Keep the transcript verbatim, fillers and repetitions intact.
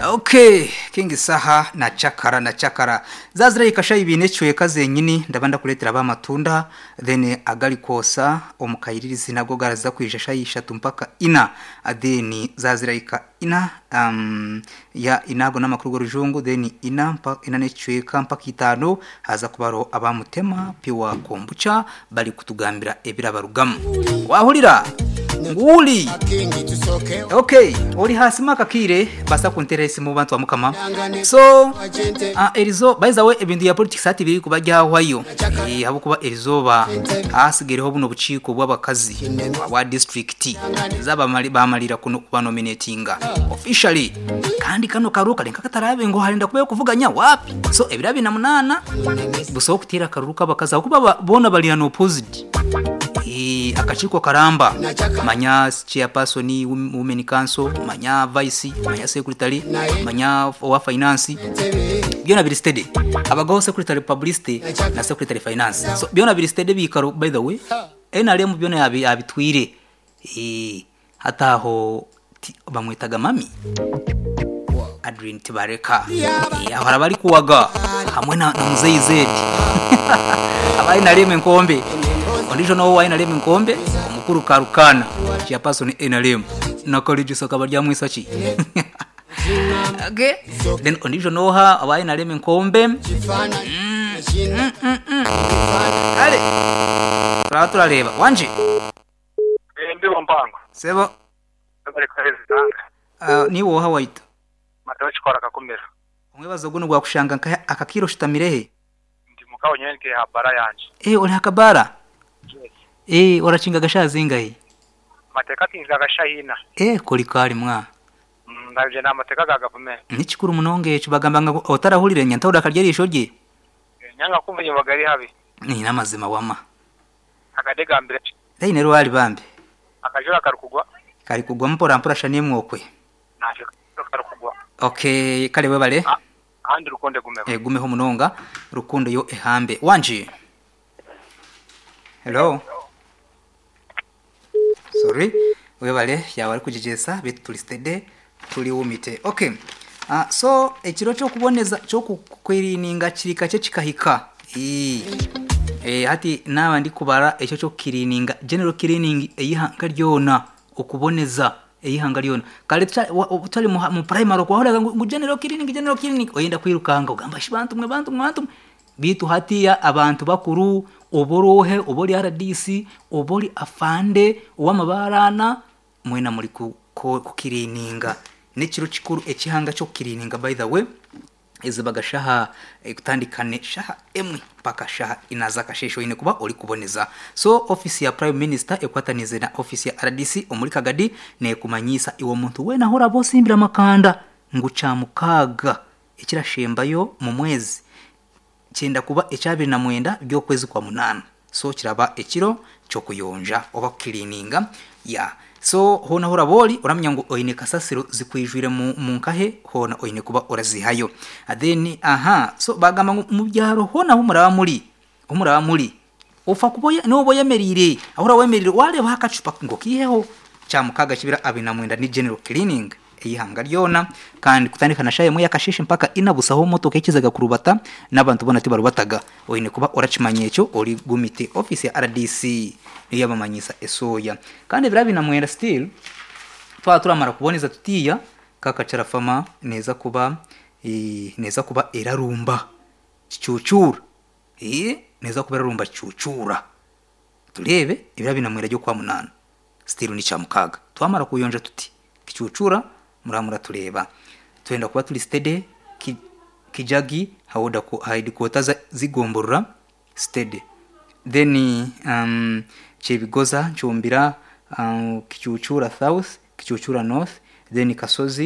Okay, King Saha na Chakara na Chakara zazira ikasha ibine chweka zenyini ndabanda kuletera abamatunda then agali kosa omukayiririzi nabwo garaza kwija shayishatu mpaka ina then zazira ika ina um, ya inago n'amakuru g'orujungu then ina mpa, ina nechweka mpaka itano haza kubaro abamutema piwa kombucha bali kutugambira ebirabarugamu wahulira nguli okay ori hasi makakire basa kuntera isimu bantu bamukama so uh, erizo by the way ebintu ya politics ati biri kubajyahwayo eh habo kuba erizoba hasigereho buno buciko bw'abakazi bwa district zaba bamalira kuno kubanominatinga officially kandi kano karuka lenka katarabe ngo harinda kubayo kuvuganya wapi so ebirabi na munana buso kutira karuka bakaza kuba bona bali an opposite e, akachiko karamba manya chairperson women council manya vice manya secretary manya wa finance byona biri steady abagabo secretary publicity na secretary finance so byona biri steady bikaro by the way N R M byona yabitwire eh hataho bamwitaga mami Adrien Tibareka eh ahora bari kuwaga hamwe na, na Muzeyi Zedi abayi nareme nkombe ondijo no wayi nareme nkombe omukuru karukana chairperson N R M na college sokaba rya mwisaki okay then ondijo noha abayi nareme nkombe mm, mm, mm, mm. Ale turaba turareba wanje ndibo mpango sebo bari kwezanga uh, ni woha waita matochikora kakumira omwebazo guno gwakushanga akakiro shitamirehe ndi mukawo nyene ke habara yanje eh uri hakabara yes eh orachinga gashazingahe mateka kinga gashahina eh kori kari mwa ndabye na mateka ga gavumenti nikikuru munonge echo bagamba ngo otarahurire nyanta urakarya risho rye nyanga kumva nyabagari habi ni namazima wama akadegambire dai nero wali bambe akajura karukugwa kari kugwa mpora mpora shaniye mwokwe naje karukugwa okay kale webale ahandi rukonde gumeho eh gumeho munonga rukundo yo ehambe wanje hello sorry webale yawe ari kujijesa bitu turi steady turi wumite okay uh, so ekiro cyo kuboneza cyo kukwirininga kirika cyo kikahika eh hati naba ndi kubara ecyo cyo kirininga general cleaning eyihanga ryona okuboneza eyihanga ryona kale tutali mu primary kwahoraga ngo general cleaning general cleaning oyenda kwirukanga ugamba shibantu mwe bantu mwe bantu bitu hatiya abantu bakuru oborohe obori R D C obori afande owamabarana mwena muri kukirininga nekiro kikuru ekihanga cyo kirininga by the way ezibaga shaha kutandikane shaha emwe paka shaha inaza kashesho ine kuba ori kuboneza so office ya prime minister ekwatanize na office ya R D C omuri Kagadi ne kumanyisa iwo muntu wena hora bosimbira makanda nguca mukaga ekirashembayo mu mwezi cyenda kuba ecyabiri na mwenda byo kwezi kwa munana so kiraba ekiro cyo kuyonja oba cleaninga ya so hona hora boli uramenya ngo oine kasasiro zikwijwire mu munkahe hona oine kuba orazihayo then aha so bagamba ngo mu byaro hona humuraba muri humuraba muri ufa kuboye no boyemerire ahora wemerire wale bakacupa ngo kiheho cyamukaga kibira abina mwenda ni general cleaning eyihanga ryona kandi kutandikana shaye mu yakashishe mpaka inabusaho motoka ikizaga kurubata n'abantu bona tibarubataga oine kuba orachimanye cyo ori gumite office ya R D C niyo yabamanyisa esoya kandi birabi na mwenda still twa turamara kuboneza tutiya kakacara fama neza kuba e, neza kuba erarumba kicucura eh neza kuba erarumba kicucura turebe ibirabi na mwenda ryo kwa munana still ni cyamukaga twamara kuyonja tuti kicucura muramura tureba twenda kuba turi steady ki, kijagi hawoda ko headquarters zigomborora steady then um chebigoza nchumbira um, kicucura south kicucura north then kasozi.